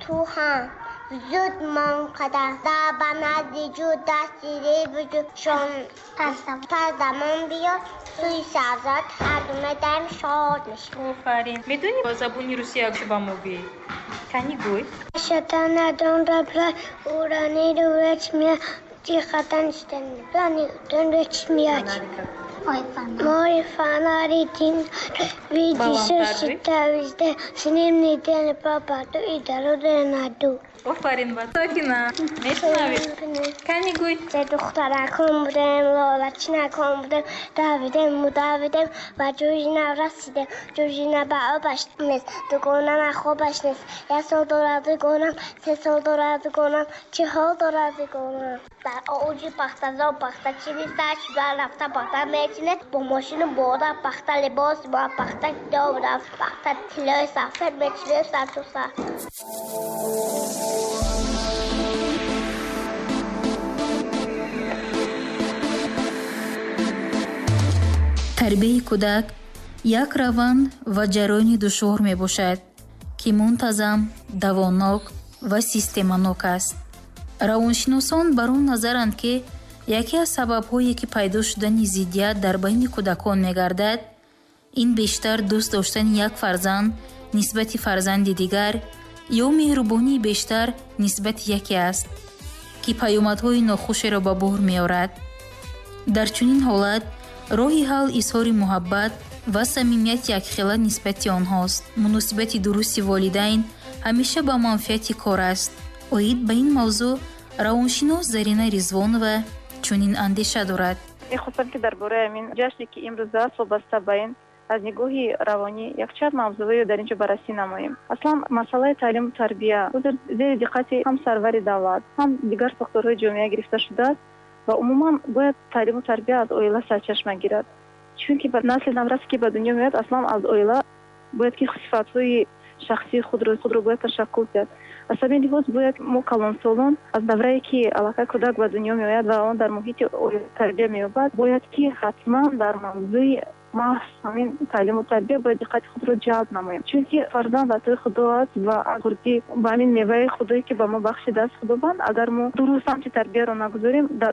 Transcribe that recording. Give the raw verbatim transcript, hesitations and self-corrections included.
Ту ҳам зуд мон қадар дар ба назди ҷӯ дасти реб ҷӯ шон пас замон биё сӯи сабзат ҳар ду медаем шод мешавем. Офарин. Медонӣ ба забони русӣ як ба мо гӯӣ? Кани гӯй. Мой фонарик видишь, везде, с ним не день попаду и дорогу найду. Офарин ба Сакина. Мешунавӣ? Кани гӯй. Се духтаракон будем, лолачинакон будем, давидем, мудавидем ва ҷӯи нав расидем. Ҷӯжина ба обаш нест, дугонам хобаш нест. Як сол дорад дугонам, се сол дорад дугонам, чӣ ҳол дорад дугонам. Дар оуҷи пахтазор пахтачини сар шуда рафта пахта мечинед, бо мошину бода пахта либос бо пахта доб рафт, пахта тиллои сафед мечинед сар то сар. Тарбияи кӯдак як раванд ва ҷараёни душвор мебошад, ки мунтазам, давонок ва системанок аст. Равоншиносон бар он назаранд, ки яке аз сабабҳое, ки пайдо шудани зиддият дар байни кӯдакон мегардад, ин бештар дӯст доштани як фарзанд нисбати фарзанди дигар ё меҳрубонии бештар нисбати яке аст, ки паёмадҳои нохушеро ба бор меорад. Дар чунин ҳолат роҳи ҳал изҳори муҳаббат ва самимияти якхела нисбати онҳост. Муносибати дурусти волидайн ҳамеша ба манфиати кор аст. Оид ба ин мавзӯъ равоншинос Зарина Ризвонова чунин андеша дорад. Мехостам, ки дар бораи ҳамин ҷашне, ки имрӯз аст, вобаста ба ин аз нигоҳи равонӣ якчанд мавзӯъро дар инҷо баррасӣ намоем. Аслан масъалаи таълиму тарбия ҳозир зери диққати ҳам сарвари давлат, ҳам дигар сохторҳои ҷомеа гирифта шудааст ва умуман бояд таълиму тарбия аз оила сарчашма гирад. Чунки насли наврасе, ки ба дунё меояд, аслан аз оила бояд ки сифатҳои шахсии худро, худро бояд ташаккул диҳад. Аз ҳамин лиҳоз бояд мо калонсолон аз даврае, ки аллакай кӯдак ба дунё меояд ва он дар муҳити оила тарбия меёбад, бояд ки ҳатман дар мавзӯи маҳз ҳамин таълиму тарбия бояд диққати худро ҷалб намоем. Чунки фарзанд атои худо аст ва хурдӣ ба ҳамин меваи худое, ки ба мо бахшидааст Худованд, агар мо дуруст самти тарбияро нагузорем, дар